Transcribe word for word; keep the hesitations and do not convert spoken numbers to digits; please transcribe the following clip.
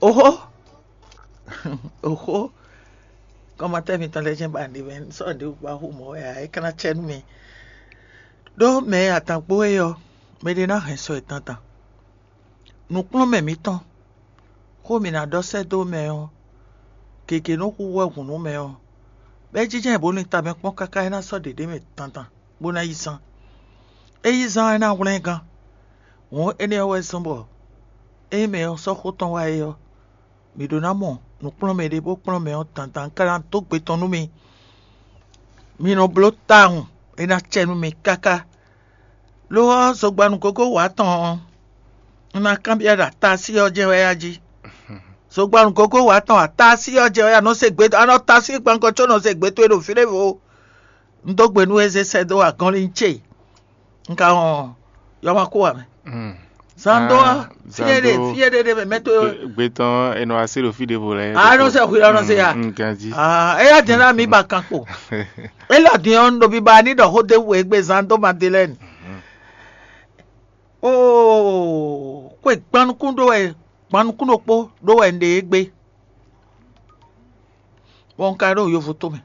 Oxó, oxó, kɔmatɛ́ mitɔn lɛ́ɛ jɛ́n ba ɖi mɛ sɔ́ ɖě wú ba xú mɔ̌ wɛ ǎ, é ka ná cɛ nú mi. Ɖó mɛ e atangbo é ɔ́, mɛɖé ná hɛn sɔ e tantan. Nǔkplɔ́nmɛ mǐtɔn, xó mǐ ná ɖɔ sɛ́ dó mɛ ɔ́, gěgé nɔ hu wɛ hǔn nú mɛ ɔ́, bɔ é jínjɔ́n bónú tamɛ kpɔ́n káká é ná sɔ́ ɖěɖé mɛ tantan, bó ná yi zán. É yi zán ɔ́, é ná hwlɛ́n gán. Hǔn énɛ́ ɔ́ wɛ zɔ́n bɔ ényí mɛ ɔ́ sɔ́ xó tɔn wá é ɔ́, mǐ ɖó ná mɔ nǔkplɔ́nmɛ ɖé bó kplɔ́n mɛ ɔ́ dandan ká ná dó gbe tɔn nú mi. Mi nɔ bló tawun, é ná cɛ nú mi káká. Lo ɔ́, zogbanu gógó wǎ tɔn ɔ́, un ná kanbyɔ́ ɖɔ atási ɔ́ jɛ́n wɛ yá jí. Zogbanu gógó wǎ tɔn atási ɔ́ jɛ́n wɛ yá nɔ se gbe, a nɔ tási gbɔngɔn có nɔ se gbe towe ɖo fí ɖěvo. Un dó gbe nú we zé sɛ́ dó agɔnlin ce. Un ka wɔn yɔma kó wà mɛ. Zan dó ɔ́, fíyɛ́ ɖe fíyɛ́ ɖe ɖe mɛ mɛ tó. Gbetɔn e nɔ asi ɖo fí ɖěvo lɛ. A nɔ sɛ xwilɔ nɔ se ya. Ganji. Eya jɛ ná mi ba kan kpo. Elɔ din ɔ́, un ɖo biba ní ɖɔ xó ɖé wu egbe zan dó Madelɛni. Oo, xwe gban nukún ɖó wɛ, gban nukún ɖokpó ɖó wɛ un ɖe égbé. Bɔ un ka ɖo yovo tó mɛ.